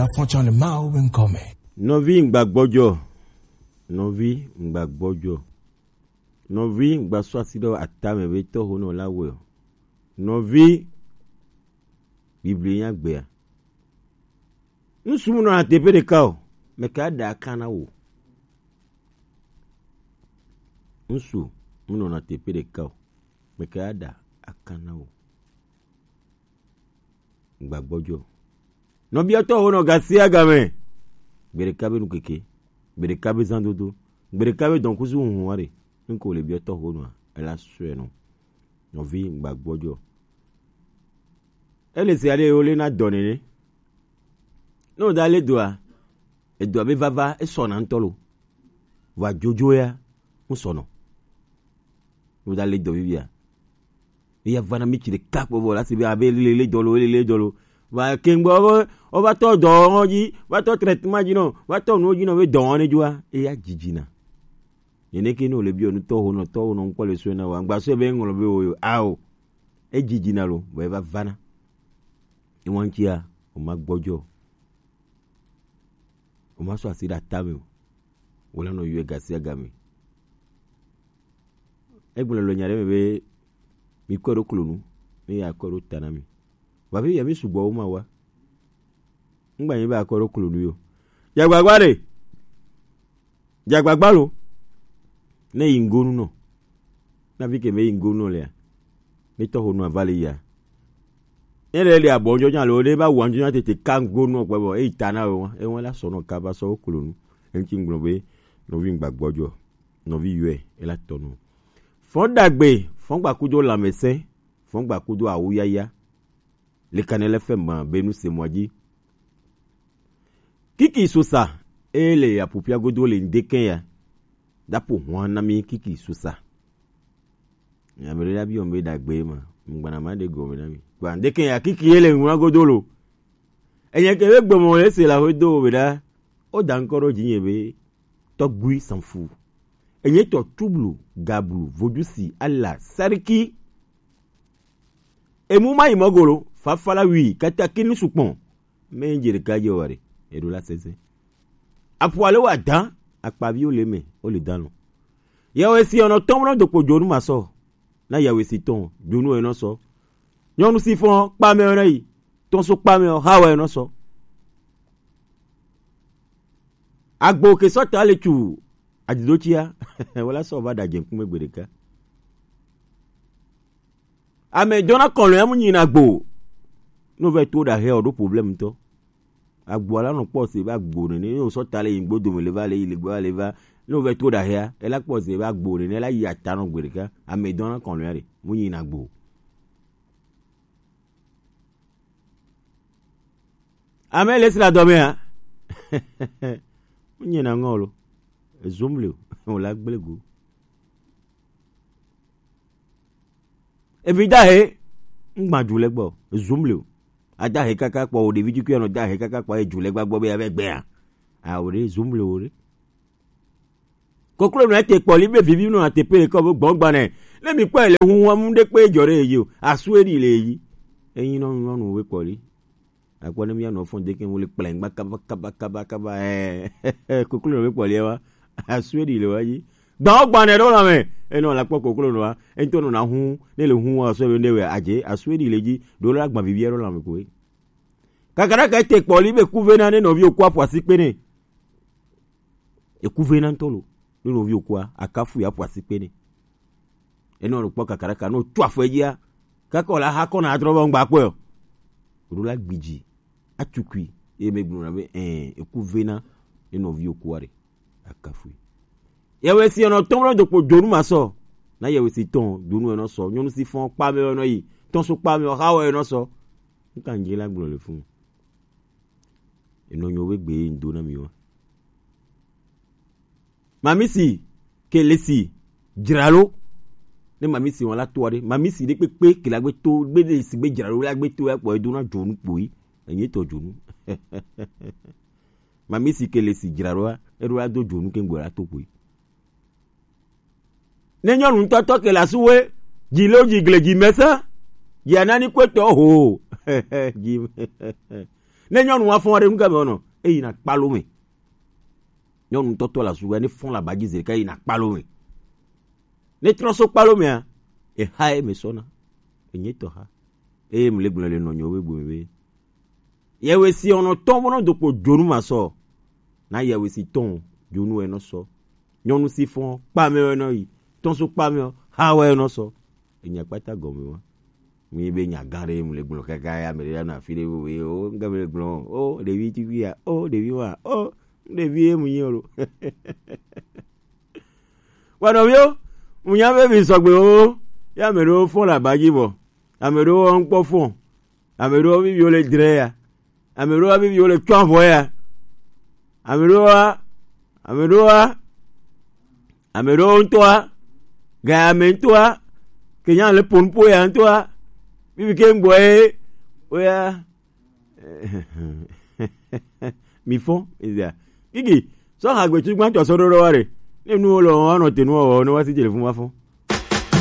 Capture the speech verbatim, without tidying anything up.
Afɔtsan le Mawu be ŋkɔ me. Nɔvi ŋgba gbɔdzɔ. Nɔvi ŋgba gbɔdzɔ. Nɔvi ŋgba sɔ asi ɖe atame be tɔho nɔ la wɔe o. Nɔvi, Biblia nya gbea. Ŋsu mu nɔna teƒe ɖeka o. Meka ɖe aka na wò. Ŋsu mu nɔna teƒe ɖeka o. Meka ɖe aka na wò. Ŋgba gbɔdzɔ. Nɔbiɔtɔ ho nɔ gasia game. Gbeɖeka be nukeke. Gbeɖeka be zandodo. Gbeɖeka be dɔnkusu huhu wa ɖe. Ŋko le biɔtɔ ho nɔa. Ela sɔe nɔ. Nɔvi ŋgba gbɔdzɔ. Ele se ale wo le na dɔ nene. Ne wo da le doa, edoa be vava esɔna ŋutɔ lo. Vɔa dzodzo ya ŋusɔnɔ. Ne wo da le dɔ vivia, eya vana mi tsi ɖeka kpɔ vɔ la si be abe lele dɔ lo, lele dɔ lo. Va ke ŋgbɔ wo, wo va tɔ dɔ wɔn dzi, va tɔ traitement dzi nɔ, va tɔ nuwo dzi nɔ be dɔ wɔn ne dzoa, eya dzidzina. Nene ke ne wo le biɔ nutɔ ho nɔ tɔ ho nɔ ŋkpɔ le sɔe na wa, ŋgba sɔe be ŋlɔ be wo yo, ao. Edzidzina lo, vɔ eva vana. Ewa ŋutia, o ma gbɔdzɔ. O ma sɔ asi ɖe atame o. Wo la nɔ yɔe gasia game. Egblɔ le nya ɖe me be, mi kɔe ɖo klonu, ne ya kɔe ɖo ta na mi. Vɔ afi ya mi sugbɔ wo ma wa. Ŋgba nyi be akɔe ɖo klonu yo. Dzagbagba ɖe. Dzagbagba lo. Ne yi ŋgonu nɔ. Na vi ke me yi ŋgonu nɔ lea. Ne tɔho nɔ ava le ya. Ne le le abɔ ŋdzɔ nya lo, ne ba wa ŋdzɔ nya tete ka ŋgonu nɔ kpɛ bɔ. Eyi ta na wo, ewa la sɔ nɔ kaba sɔ wo klonu. Eŋti ŋgblɔ be, nɔvi ŋgba gbɔdzɔ. Nɔvi yɔe, ela tɔ nɔ. Fɔn dagbe, fɔn gba kudo lamɛsɛ, fɔn gba kudo awuyaya. Le Kanɛlɛ F M ma be nu se mɔ dzi. Kiki sosa, e le apupia godo le ŋdekɛ ya. Dapo hwan na mi kiki sosa. Ame ɖe la biɔ be dagbe ma, ŋgbana ma ɖe gɔme na mi. Gba ŋdekɛ ya kiki ye le ŋua godo lo. Enye ke be gbɔmɔ le se la ho do be ɖa. O da ŋkɔ ɖo dzinye be Tɔgbui Sanfu. Enye tɔ tublu, gablu, vodusi, ala, sariki. Emu ma yi mɔgolo, fafala wi, kataki nu sukpɔn. Me dze ɖeka dze wa ɖe, eɖo la sese. Apo ale wa dan, akpavi wo le me, wo le dan lo. Yawe si ɔnɔ tɔmɔ dokpo dzonu ma sɔ. Na yawe si tɔn, dzonu enɔ sɔ. Nyɔnu si fɔn, kpa me enɔ yi. Tɔn so kpa me o, ha wa enɔ sɔ. Agbo ke sɔ ta le tsu, adidotsia, wala sɔ va da dze ŋkume gbe ɖeka. Ame dɔna kɔlɔn ya mu nyina gbo. No vɛ to da he o ɖo problem tɔ. Agbo la nɔ kpɔ se va gbo nene, ne o sɔ ta le yi gbo dome le va le yi le gbo le va. Ne o vɛ to da hea, ela kpɔ se va gbo nene, ela yi ata nɔ gbe ɖeka. Ame dɔna kɔlɔn ya ɖe, mu nyina gbo. Ame le sra dɔmea. Mu nyina ŋɔ lo. Ezom le o la gble go. Evi dahe, ŋgbã dzu le gbɔ, ezum le o. Adahe kaka kpɔ o, ɖevi dzikui anɔ dahe kaka kpɔ, edzu le gbagbɔ be ya vɛ gbea. Awo ɖe, ezum le o ɖe. Koklo nɔ ete kpɔ li be vivi nɔ ate pe kɔ be gbɔn gbanɛ. Ne mi kpɔ le hu wa mu ɖe kpe dzɔ ɖe yi o. Asu eɖi le yi. Enyi nɔ nyɔnu we kpɔ li. Akpɔ ne mía nɔ fɔn deke wo le kplɛn gba kaba kaba kaba kaba, eh, koklo nɔ be kpɔ lia wa. Asue ɖi le wa dzi. Gbawo gbanɛ ɖo la me. Enɔ la kpɔ koklo nɔ wa. Ento nɔ na hu, ne le hu wa sɔ be ne we adze, asue ɖi le dzi. Ɖo la gba vivi ɖo la me koe. Kakara ka te kpɔ li be kuve na ne nɔvi o kwa pwasi kpe ne. Eku ve na ŋutɔ lo. Ne nɔvi okua, akafu ya ƒo asi kpe nɛ. Enɔ ɖo kpɔ kakaraka, ne wotso afɔ edzia, kaka wòle aha kɔna adrɔ be ŋgba kpɔe o. Wòɖo la gbidzi, atukui, eye megblɔna be, ɛ̃, eku vena ne nɔvi okua ɖe. Akafui. Yewesi enɔ tɔm ɖe dokpo dzonu ma sɔ. Na yewesi tɔn, dzonu enɔ sɔ. Nyɔnu si fɔn kpa me enɔ yi. Tɔn so kpa me, oha wɔ enɔ sɔ. Nka ŋdzi la gblɔ le fun. Enɔ nyo be gbe ŋdo na mi wa. Mamisi, ke le si, dzra lo. Ne mamisi wɔn la to ɖe, mamisi ɖe kpekpe ke la gbe to, gbe le si gbe dzra lo la gbe to ya kpɔ edo na dzonu kpoi. Enye tɔ dzonu. Mamisi ke le si dzra lo, eɖo la do dzonu ke ŋgbe la to kpoi. Ne nyɔnu ŋutɔtɔ ke le asu we, dzi lo dzi gle dzi mese, dzi anani kpetɔ ho. Dzi. Ne nyɔnu wa fɔn ɖe nu game wɔnɔ, eyi na kpalo me. Nyɔnu tɔtɔ la sugbɔ ne fɔn la baji zeka yi na kpalo me. Ne trɔ so kpalo mea, eha ye me sɔna. Enye tɔ ha. Eye mu le gblɔ le nɔnyo be gbe be. Yewe si ono tɔn bono dokpo jonu ma sɔ. Na yewe si tɔn jonu e no sɔ. Nyɔnu si fɔn kpa me e no yi. Tɔn so kpa me o, ha we e no sɔ. Enya kpata gɔme wa. Mi be nya gã ɖe mu le gblɔ kaka ya me ɖe ya na fi ɖe wo we o, nga me le gblɔ o, ɖevi ti fi ya o, ɖevi wa o, ɖevi e mu nyi o lo. Wa nɔviwo, mu nya be mi sɔgbe o, ya me ɖewo fɔn la baji bɔ, ame ɖewo ŋkpɔ fɔn, ame ɖewo viviwo le dre ya, ame ɖewo viviwo le tsɔ avɔ ya, ame ɖewo wa, ame ɖewo wa, ame ɖewo ŋutɔa, gaya me ŋutɔa, kenya le ponpo ya ŋutɔa, vivi ke ŋgbɔ ye, oya, mi fɔn, ezia, kiki, sɔ ha gbetsu gbãtɔ sɔ ɖo ɖo wa ɖe, ne nuwo le wɔn anɔ te nuwo wɔ, ne wa si dze le fun wa fɔn.